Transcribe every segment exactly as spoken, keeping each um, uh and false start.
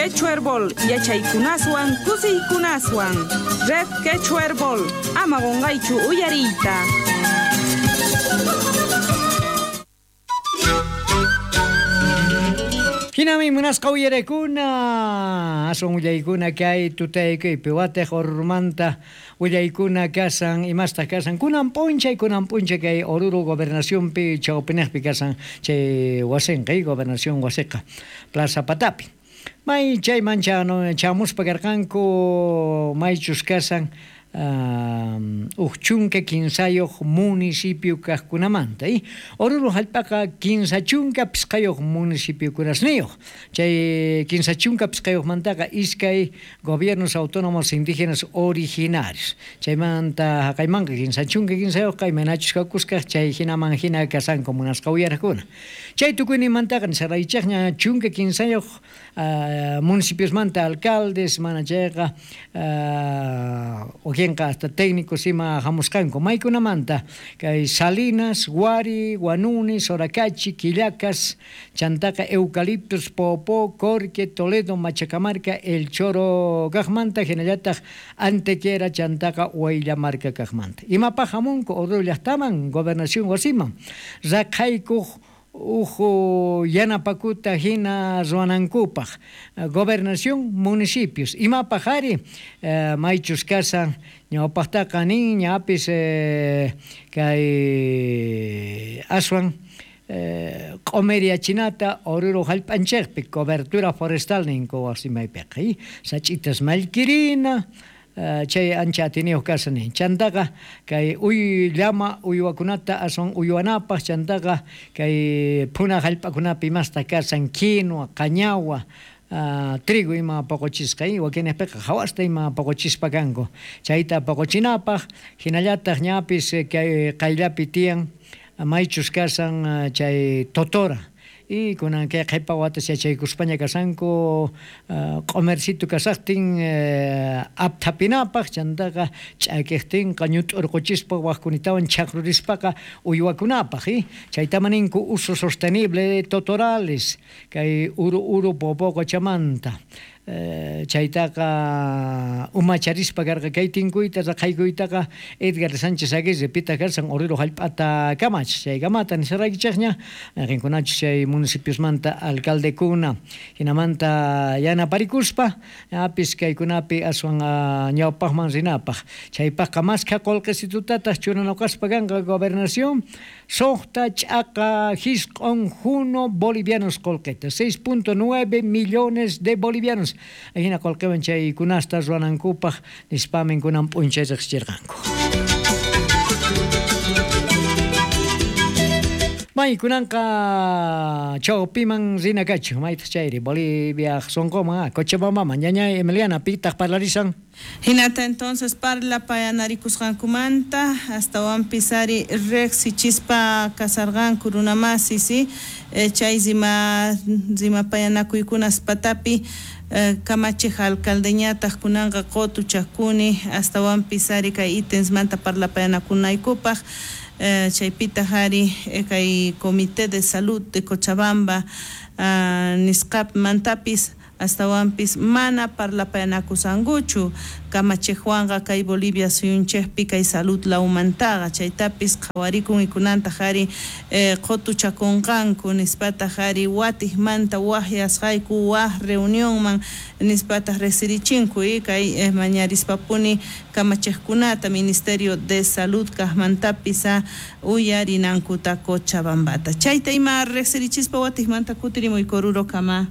Quechuerbol yachaykunaswan kusiykunaswan. Red Quechuerbol ama qonqaychu uyariyta. Hinami munasqa uyarekuna, aswan willaykuna kay tutaykuypi watej Orurumanta willaykuna kasan, imastaq kasan, kunan p'unchay, kunan p'unchay kay Oruro gobernacionpi chawpinejpi kasan chay wasinqa, gobernación wasiqa, Plaza Patapi. May chayman chamuspa karqanku maychus kasan uj chunka kinsayuq municipio kaqkunamanta. Oruro hallp'aqa kinsa chunka pisqayuq municipiokunasniyuq. Chay kinsa chunka pisqayuqmantaqa iskay gobiernos autónomos indígenas originarios. Chaymanta haqaymanqa kinsa chunka kinsayuqqa imaynachus kakusqaq chay hinaman hina kasanku munasqa uyaraqkuna. Chay tukuyninmantaqa nisaraychaqña chunka kinsayuq municipiosmanta alcaldes mana chayqa wakinqa hasta técnicos ima hamusqanku maykunamanta kay Salinas, Huari, Huanuni, Soracachi, Quillacas, chantaqa Eucaliptus, Popó, Corque, Toledo, Machacamarca, El Choro kaqmanta, hinallataq Antequera, chantaqa Huayllamarca kaqmanta. Imapaq hamunku Oruro llaqtaman, gobernación wasiman, raqhaykuq uhu yanapakuta hina ruwanankupaq gobernación municipios imapaq ari maychus kasan ñawpaqtaqa nin ñapis kay aswan q'umiriachinata Oruro hallp'anchikpi cobertura forestal ninku wasimaypiqa sach'itas mallkirina chay ancha atiniyuq kasan nin chantaqa kay uy llama uywakunata aswan uywanapaq chantaqa kay phuna hallp'akunapi imasta kasan quinua, qañawa, trigo ima poqochisqa wakinpiqa hawasta ima poqochispa kanku chayta poqochinapaq hinallataq ñapis kay qayllapi tiyan maychus kasan chay totora y kunan kay qhipa watas yachaykuspaña kasanku q'umercito kasaqtin apthapinapaq chantaqa ch'akiqtinqa ñut'urquchispa waqkunitawan chaqrurispaqa uywakunapaq chaytama ninku uso sostenible de totorales kay uru uru Popó qochamanta chaytaqa umacharispa karqa kay tinkuyta raqhaykuytaqa Edgar Sánchez Aguirre pita karsan Oruro hallp'ata kamach chaykamata nisaraykichaqña qinkunachus chay municipiosmanta alcaldekuna hinamanta yanaparikuspa apis kaykunapi aswan ñawpaqman rinapaq chaypaqqa maskha qullqisitutataq churanakuspa kanqa gobernación suqta ch'aqa hisq'un juno bolivianos qullqita seis punto nueve millones de bolivianos ajina qullqiwan chaykunasta ruwanankupaq nispamin kunan p'unchay riqsichirqanku. May kunanqa chawpiman rina kachu maytaq chayri Bolivia sunquman Cochabambaman ñañay Emiliana pitaq parlarisan. Hinata entonces parlapayanarikusqankumanta astawanpis ari riqsichispa kasarqanku runamasi si chay rima rimapayanakuykunas patapi kamachiq alcaldeñataq kunanqa qutuchakuni astawanpis ari kay ítemsmanta parlapayanakunaykupaq chaypitaq ari kay Comité de Salud de Cochabamba nisqapmantapis astawanpis mana parlapayanakusankuchu kamachiqwanqa kay Bolivia suyunchikpi kay salud lawmantaqa chaytapis qhawarikun ikunantaq ari qutuchakunqanku nispataq ari watiqmanta waqyasqayku waq reunionman nispataq riqsirichinku kay mañarispapuni kamachiqkunata Ministerio de Salud kaqmantapis uyarinankuta Cochabambata chayta ima riqsirichispa watiqmanta kutirimuyku Oruro kama.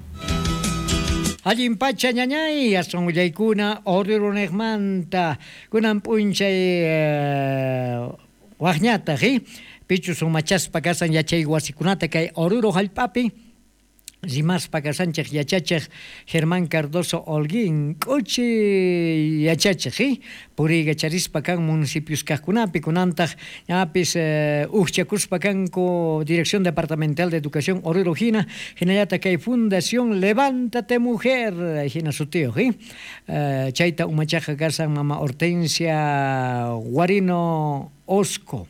Allin pacha ñañay aswan willaykuna Orurunejmanta kunan p'unchay waqñataq pichus umachaspa kasan yachay wasikunata kay Oruro hallp'api rimaspa kasanchik yachachiq Germán Cardoso Holguín k'uchi yachachiq puriykacharispa kan municipios kaqkunapi kunantaq ñapis ujchakuspa kanku Dirección Departamental de Educación Oruro hina hinallataq kay Fundación Levántate Mujer hina sutiyuq chayta umachaqa kasan mama Hortensia Guarino Osco.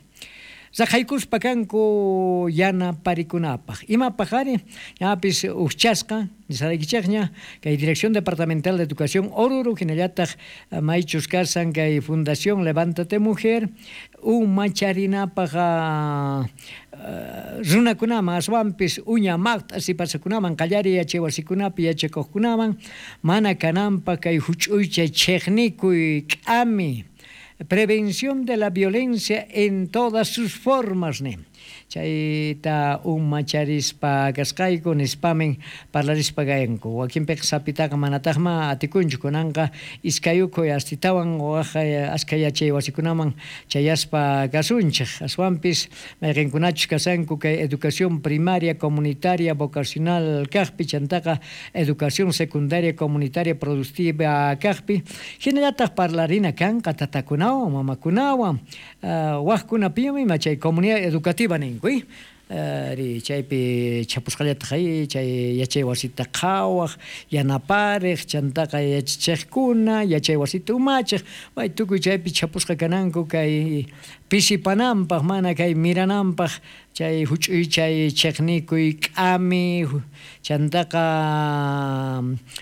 Raqaykuspa kanku yanaparikunapaq. Imapaq ari ñapis ujchasqa nisaraykichikña kay Dirección Departamental de Educación Oruro hinallataq maychus kasan kay Fundación Levántate Mujer umacharinapaq runakunaman aswanpis uña maqt'a sipasakunaman qallariy yachay wasikunapi yachakuqkunaman mana kananpaq kay huch'uycha chiqnikuy k'ami prevención de la violencia en todas sus formas ne chayta umacharispa kasqayku nispamin parlarispa kayanku wakinpiqa sapitaqa manataqma atikunchu kunanqa iskayukuy astitawan waj askha yachay wasikunaman chayaspa kasunchik aswanpis mayqinkunachus kasanku kay educación primaria comunitaria vocacional kaqpi chantaqa educación secundaria comunitaria productiva kaqpi hinallataq parlarina kanqa tatakunawan mamakunawan uh, wajkunapiyumi ima chay comunidad educativa ninkuy ri chaypi chapusqallataq ay chay yachay wasita qhawaq yanapariq chantaqa yachachiqkuna yachay wasita umachiq may tukuy chaypi chapusqa kananku kay pisipananpaq mana kay mirananpaq chay huch'uy chay chiqnikuy k'ami chantaqa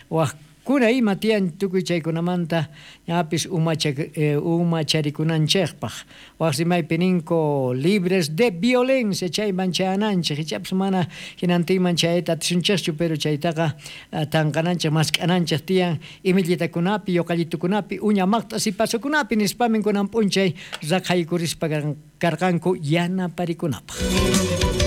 waj kuna ima tiyan tukuy chaykunamanta ñapis umacha eh, umacharikunanchikpaq waj rimaypi ninku libres de violencia chayman chayananchik ichapis mana hinantinman chayta atisunchikchu pero chaytaqa tanqananchik mask'ananchik tiyan imillitakunapi yuqallitukunapi uña maqt'a sipasukunapi nispamin kunan p'unchay raqaykurispa karqanku yanaparikunapaq.